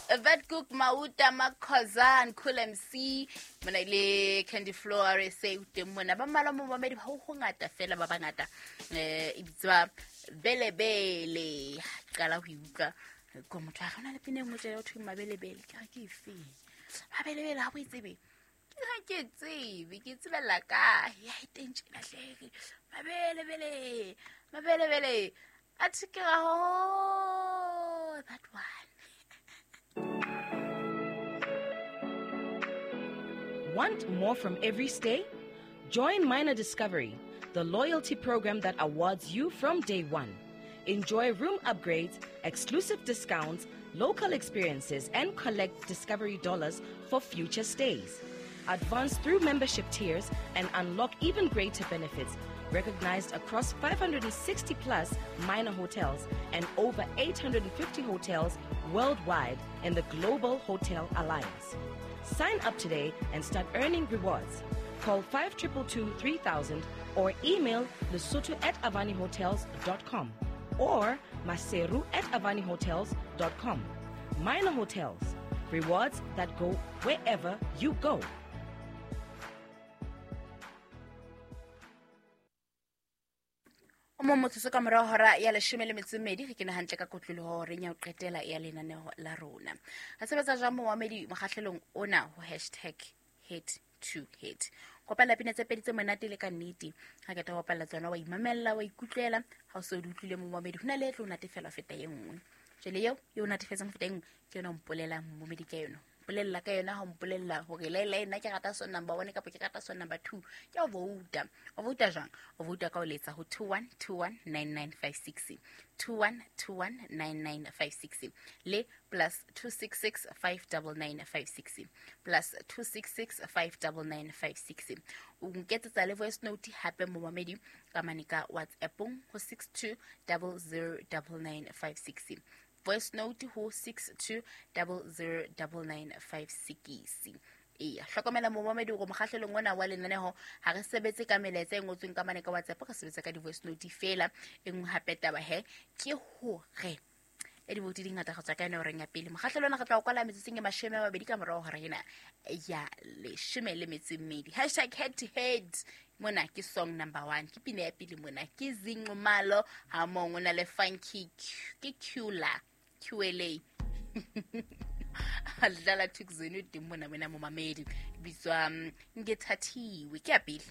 Vetkoek, Mauta, Makhozan, Cool MC, mona ile Candy Floor RSA o teng mona. Ba mmalwa mo mamedi ba ho hongata fela ba bangata. E bitswa Belebele. Qala ho e utlwa ko motho a rona le pina e nngwe tjena ho thweng Mabelebele. Ke re ke efeng? Mabelebele ha o e tsebe. Ke ha ke tsebe, ke tsebella kae? Ya e teng tjena hle. Mabelebele, Mabelebele. Athe ke ra oh, that one. Want more from every stay? Join Minor Discovery, the loyalty program that awards you from day one. Enjoy room upgrades, exclusive discounts, local experiences, and collect Discovery dollars for future stays. Advance through membership tiers and unlock even greater benefits, recognized across 560 plus minor hotels and over 850 hotels worldwide in the Global Hotel Alliance. Sign up today and start earning rewards. Call 5222 3000 or email lesotho@avanihotels.com or maseru@avanihotels.com. Minor Hotels, rewards that go wherever you go. O mong motsotso ka morao hora ya leshome le metso e mmedi, re kene hantle ka kotloloho horeng ya ho qetela ya lenaneo la rona. Re sebetsa jwang momamedi mokgahlelong ona ho hashtag head to head. Kopela pina tse pedi tse monate le ka nnete. Ha ke tla bapalla tsona wa imamella, wa ikutlwela, ha o se o di utlwile momamedi, ho na le e tlo o natefela ho feta e nngwe. Jwale eo e o natefetseng ho feta e nngwe, ke yona o mpolelang momamedi ka yona. Mpolella ka yona, ha o mpolella hore le le nna ke rata song number 1 kapa ke rata song number 2, ke o vouta. O vouta jwang? O vouta ka ho letsa ho 21219956, 21219956 le plus two six six five double nine five six, plus two six six five double nine five six. O nketsetsa le voice note hape momamedi ka mane ka WhatsApp-ong ho six two double zero double nine five six. Voice note ho six two double zero double nine five six. Eya, hlokomela momamedi hore mokgahlelong ona wa lenaneho ha re sebetse ka melaetsa e ngotsweng ka mane ka WhatsApp, re sebetsa ka di-voice note fela. E nngwe hape taba he ke hore e diboutu di ngata go tswa ka yone horeng ya pele. Mokgahlelo ona re tla o kwala metsotsong e mashome a mabedi ka morao hora ena ya leshome le metso e mmedi. Hashtag head to head mona ke song number 1, ke pina ya pele mona ke Zinqumalo ha mong o na le Funky Q, ke Qla, QLA. Dlala Thukzeni o teng mona mona momamedi, bitswa Ngethathiwe, ke ya pele.